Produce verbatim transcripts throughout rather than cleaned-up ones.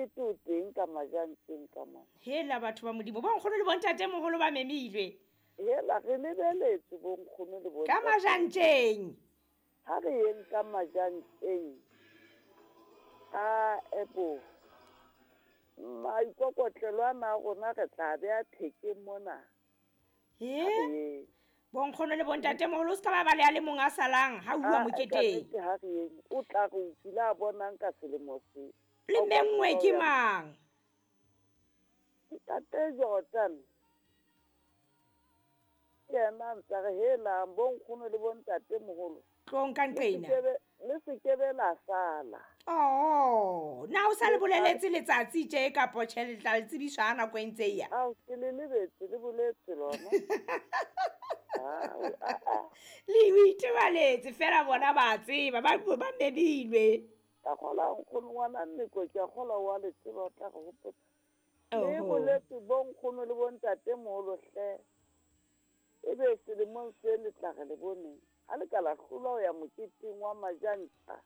Mokete o teng ka Majantjeng ka mona. Hela batho ba Modimo, bonkgono le bontatemoholo ba memilwe. Hela re lebeletse bonkgono le bontate. Ka Majantjeng. Ha re yeng ka Majantjeng. A ebo. Maikokotlelo ana a rona re tla beha thekeng mona. He? Bonkgono le bontatemoholo o se ka ba ba le a le mong a salang ha uwa moketeng. Ha re yeng, o tla re o kile a bonang ka selemo se. Le menngwe ke mang? Ntate Jordan. Ke yena a ntsa re helang bonkgono le bontatemoholo. Tlong ka nqena. Le se ke be la sala. Oh, na o sa le boleletse letsatsi tje kapo tjhe le tla le tsebiswa ha nako e ntse e ya? Ao, ke le lebetse, le boletse lona. Le o itebaletse fela bona ba tseba, ba ba memilwe. Ka kgola nkgono ngwana Nneko, ke a kgola wa le tseba o tla re hopotsa. Le boletse bonkgono le bontatemoholo hle. Ebe selemong se le tla re le boneng. Ha le ka la hlolwa ho ya moketeng wa Majantja.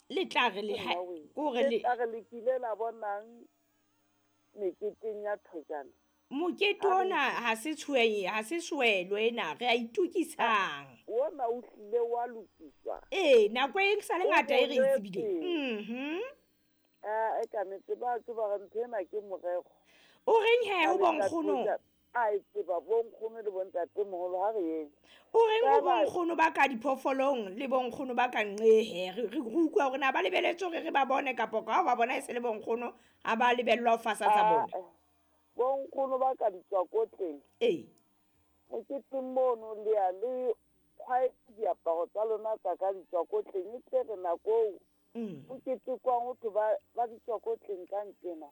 Le tla re le ha kore le tla re le kile la bonang meketeng ya Thojana. Mokete ona ha se tshwenye, ha se swelo ena, re a itukisang. Ona o hlile wa lokiswa. Ee, nako e sa le ngata e re e tsebile. Mhm. Ah, e ka nnete ba tseba re ntho ena ke morero. O reng he ho bonkgono? A e tseba bonkgono le bontatemoholo ha re yeng. O reng ho bonkgono ba ka diphoofolong le bonkgono ba ka nqehe? Re re utlwa hore na ba lebeletse hore re ba bone kapo ka ha ba bona e se le bonkgono ha ba lebellwa ho fasa tsa bona. Bonkgono ba ka ditswakotleng. Ee. Moketeng mono le ya le kgwaetse diaparo tsa lona tsa ka ditswakotleng e tle re nako eo o ketekwang ho thwe ba ba ditswakotleng ka nqena.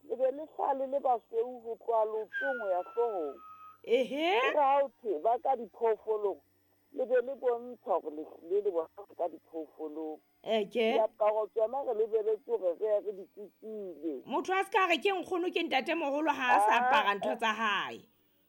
Le be le hlale le basweu ho tloha leotong ho ya hloohong. Ehe. Ere ha ho thwe ba ka diphoofolong, le be le bontsha hore le hlile le bona ka diphoofolong. Eke. Diaparo tsona re lebeletse hore re ye re di kukile. Motho a se ka re ke nkgono ke ntatemoholo ha a sa apara ntho tsa hae.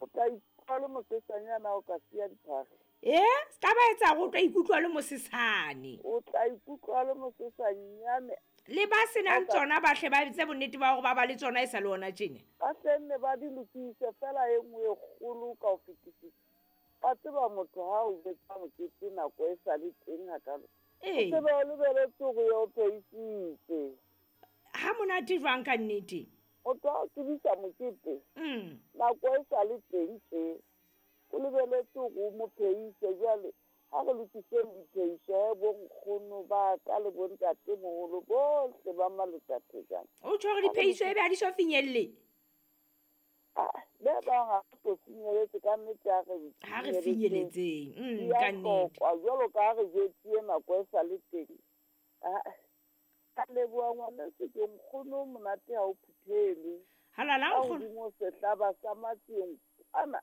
O tla ikutlwa le mosesanyana o ka siya diphahlo. Eh, se ka ba etsa hore o tla ikutlwa le mosesane. O tla ikutlwa le mosesanyane. Le ba senang tsona ba hle ba etse bonnete ba hore ba ba le tsona e sa le ona tjena. Ba hlenne ba di lokise fela e nngwe e kgolo ka ho fetisisa. Ba tseba motho ha o betsa mokete nako e sa le teng hakalo. Ee. O tsebe o lebeletse hore o pheisitse. Ha monate jwang ka nnete? Motho ha o tsebisa mokete. Mm. Nako e sa le teng tje. O lebeletse hore o mo pheise jwale. Ha re lokiseng diphehiso he bonkgono ba ka le bontatemoholo bohle ba Malotsathejana. O tjho hore diphehiso ebe ha di so finyelle? Ah, le bang ha re so finyeletse ka nnete ha re Ha re finyeletseng. Mm, Di a ka nnete. hlokwa jwalo ka ha re jwetsuwe nako e sa le teng. Ah, ka leboha ngwaneso ke nkgono monate ha o phuthelwe. Halala Ka nkgono. hodimo sehlaba sa matseng ana.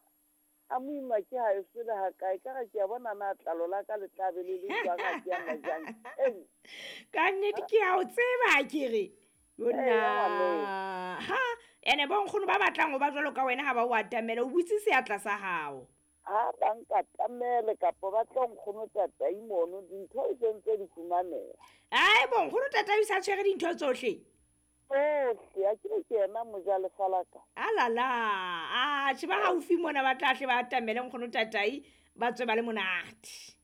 A moima ke ha e sele ha kae ka re ke a bona na tlalo la ka le tla be le le jwang ha ke ya Majantjeng. Ka nnete ke a o tseba ke re. Yona. Ee, Ha, ene bonkgono ba batlang ho ba jwalo ka wena ha ba o atamela, o butse seatla sa hao. Ha ba nkatamele kapa ba tlo nkgono tatai mono, dintho e sentse di fumaneha. Ai, bonkgono tatai o sa tshwere dintho tsohle. Tsohle, a ke re ke yena mojalefa la ka. Alala, a tjhe ba haufi mona ba tla hle ba atamele nkgono tatai, ba tswe ba le monate.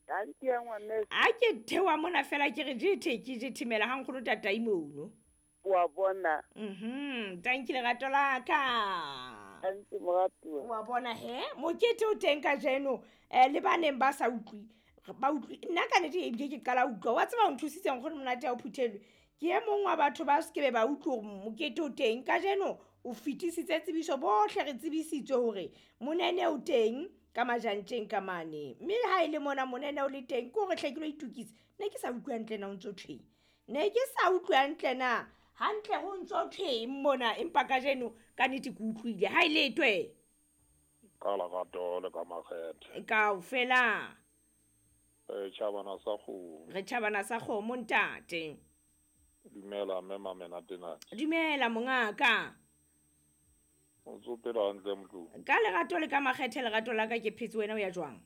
Tanki ya ngwaneso. A ke theoha mona fela ke re jethe ke jethemela ha nkgono tatai mono. Wa bona. Mhm, tanki lerato la ka. Tanki moratuwa. Wa bona he, mokete o teng kajeno, eh le ba neng ba sa utlwi, ba utlwi. Nna ka nnete ebile ke qala utlwa. Wa tseba o nthusitse nkgono monate ya o phuthelwe. Ke e mong wa batho ba se ke be ba utlwe hore mokete o teng kajeno. O fetisitse tsebiso, bohle re tsebisitswe hore monene o teng ka Majantjeng ka mane. Mme ha e le mona monene o le teng, ke hore hle ke lo itukisa. Ne ke sa utlwe hantle na o ntso thweng. Ne ke sa utlwe hantle na hantle ho ntso thweng mona, empa kajeno ka nnete ke utlwile. Ha e letwe. Ka lerato le ka makgethe. Kaofela. Re tjhabana sa kgomo. Re tjhabana sa kgomo ntate. Dumela mme Mamenatenate. Dumela mongaka. O ntso phela hantle motlong? Ka lerato le ka makgethe lerato la ka ke phetse, wena o ya jwang?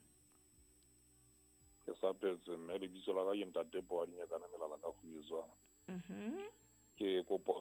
Ke sa phetse mme, lebitso la ka ke Ntate Poadinyakana Melala ka Kgwezwana. Mhm. Ke kopa